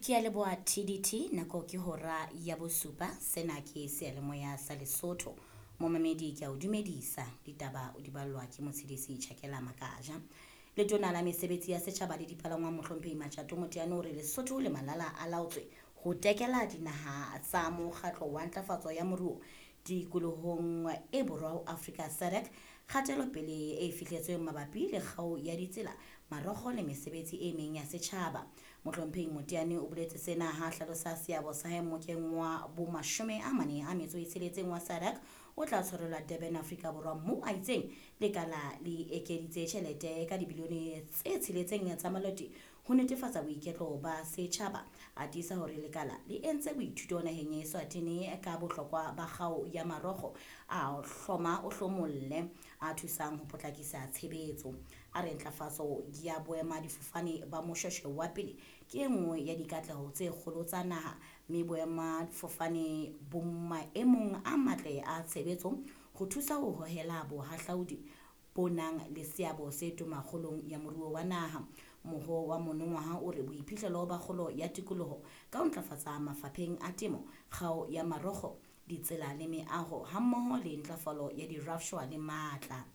Ke a leboha TDT nako ke hora ya bosupa. Sena ke seyalemoya sa Lesotho. Momamedi ke a o dumedisa. Ditaba o di ballwa ke Motshedisi Tjhakela Makaja. Letona la mesebetsi ya setjhaba le dipalangwang Mohlomphehi Matjato Moteane o re Lesotho le Malala a laotswe ho tekela dinaha tsa mokgatlo wa ntlafatso ya moruo tikolohong e borwa ho Afrika SADC kgatelopele e fihletsweng mabapi le kgao ya ditsela, marokgo le mesebetsi e meng ya setjhaba. Mohlomphehi Moteane o boletse sena ha hlalosa seabo sa hae mmokeng wa bo 46 wa SADC o tla tshwarelwa Durban, Afrika Borwa, moo a itseng lekala le ekeditse tjhelete ka dibilione tse 6 tsa maloti ho netefatsa boiketlo ba setjhaba. A tiisa hore lekala le entse boithuto naheng ya Eswatini ka bohlokwa ba kgao ya marokgo a hloma o hlomolle a thusang ho potlakisa tshebetso. A re ntlafatso ya boemadifofane ba Moshoeshoe wa pele ke e nngwe ya dikatleho tse kgolo tsa naha, mme boemadifofane bo maemong a matle a tshebetso ho thusa ho hohela bohahlaudi bo nang le seabo se toma kgolong ya moruo wa naha. Moho wa monongwaha o re boiphihlelo ba kgolo ya tikoloho ka ho ntlafatsa mafapheng a temo, kgao ya marokgo, ditsela le meaho hammoho le ntlafalo ya dirafshwa le matla.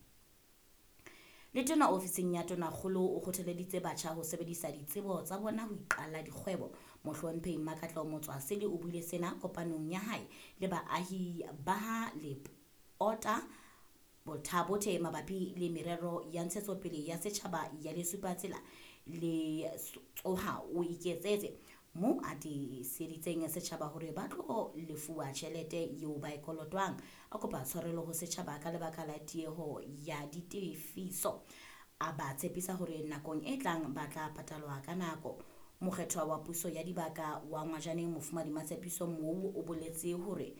Letona ofising ya Tonakgolo o kgothaleditse batjha ho sebedisa ditsebo tsa bona ho iqalla dikgwebo. Mohlomphehi Mmakatleho Motswasele o buile sena kopanong ya hae le baahi ba ha Lepota Bothabothe mabapi le merero ya ntshetsopele ya setjhaba ya Lesupatsela le Tsoha o Iketsetse, moo a tiiseditseng setjhaba hore ba tlo lefuwa tjhelete eo ba e kolotwang. A kopa tshwarelo ho setjhaba ka lebaka la tieho ya ditefiso. A ba tshepisa hore nakong e tlang ba tla patalwa ka nako. Mokgethwa wa puso ya dibaka wa Ngwajaneng Mofumahadi Matshepiso Mou o boletse hore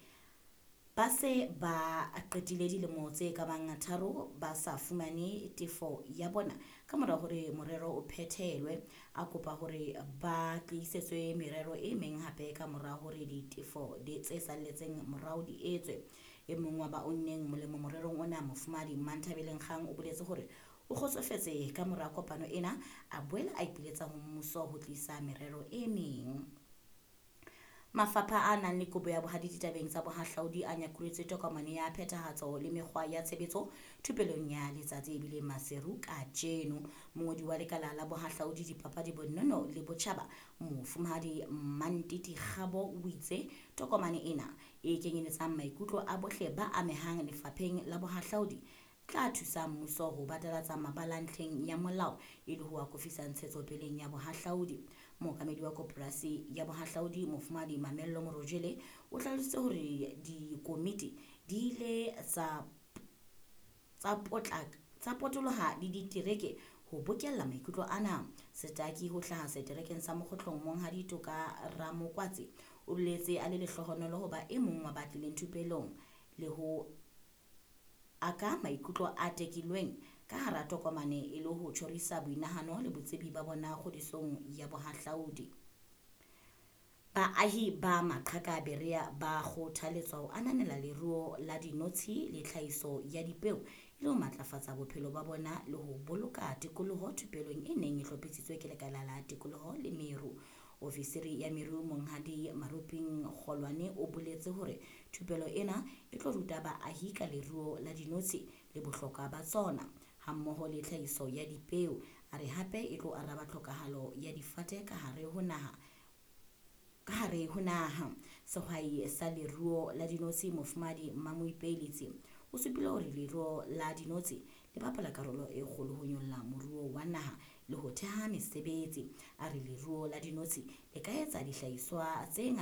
ba se ba qetile dilemo tse ka bang 3 ba sa fumane tefo ya bona ka mora hore morero o phethelwe. A kopa hore ba tlisetswe merero e meng hape ka mora hore ditefo tse salletseng morao di etswe. E mong wa ba unneng molemo morerong ona, Mofumahadi Manthabeleng Kgang, o boletse hore o kgotsofetse ka mora kopano ena, a boela a ipiletsa ho mmuso ho tlisa merero e meng. Mafapha a nang le kobo ya bohadi ditabeng tsa bohahlaudi a nyakuretse tokomane ya phethahatso le mekgwa ya tshebetso thupelong ya letsatsi e bileng Maseru kajeno. Mongodi wa lekala la bohahlaudi, dipapadi, bonono le botjhaba, Mofumahadi Mantiti Kgabo, o itse tokomane ena e kenyeletsang maikutlo a bohle ba amehang lefapheng la bohahlaudi tla thusa mmuso ho batalatsa mabala ntlheng ya molao e le ho akofisa ntshetsopeleng ya bohahlaudi. Mookamedi wa koporasi ya bohahlaudi Mofumahadi Mamello Morojele o hlalositse hore dikomiti di ile tsa potoloha le ditereke ho bokella maikutlo ana. Setaki ho hlaha seterekeng sa Mokgotlong Monghadi Toka Ramokwatsi o boletse a le lehlohonolo ho ba e mong wa ba tlileng thupelong le ho aka maikutlo a tekilweng ka hara tokomane e le ho tjhorisa boinahano le botsebi ba bona kgodisong ya bohahlaudi. Baahi ba Maqhaka Berea ba kgothaletswa ho ananela leruo la dinotshi le tlhahiso ya dipeo e le ho matlafatsa bophelo ba bona le ho boloka tikoloho thupelong e neng e hlophisitswe ke lekala la tikoloho le meru. Ofisiri ya meru Monghadi Maruping Kgolwane o boletse hore thupelo ena e tlo ruta baahi ka leruo la dinotshi le bohlokwa ba tsona hammoho le tlhahiso ya dipeo. A re hape e tlo araba tlhokahalo ya difate ka hare ho naha. Sehwai sa leruo la dinotshi Mofumahadi Mmamoipelitse o supile hore leruo la dinotshi le bapala karolo e kgolo ho nyolla moruo wa naha le ho theha mesebetsi. A re leruo la dinotshi le ka etsa dihlahiswa tse ngata.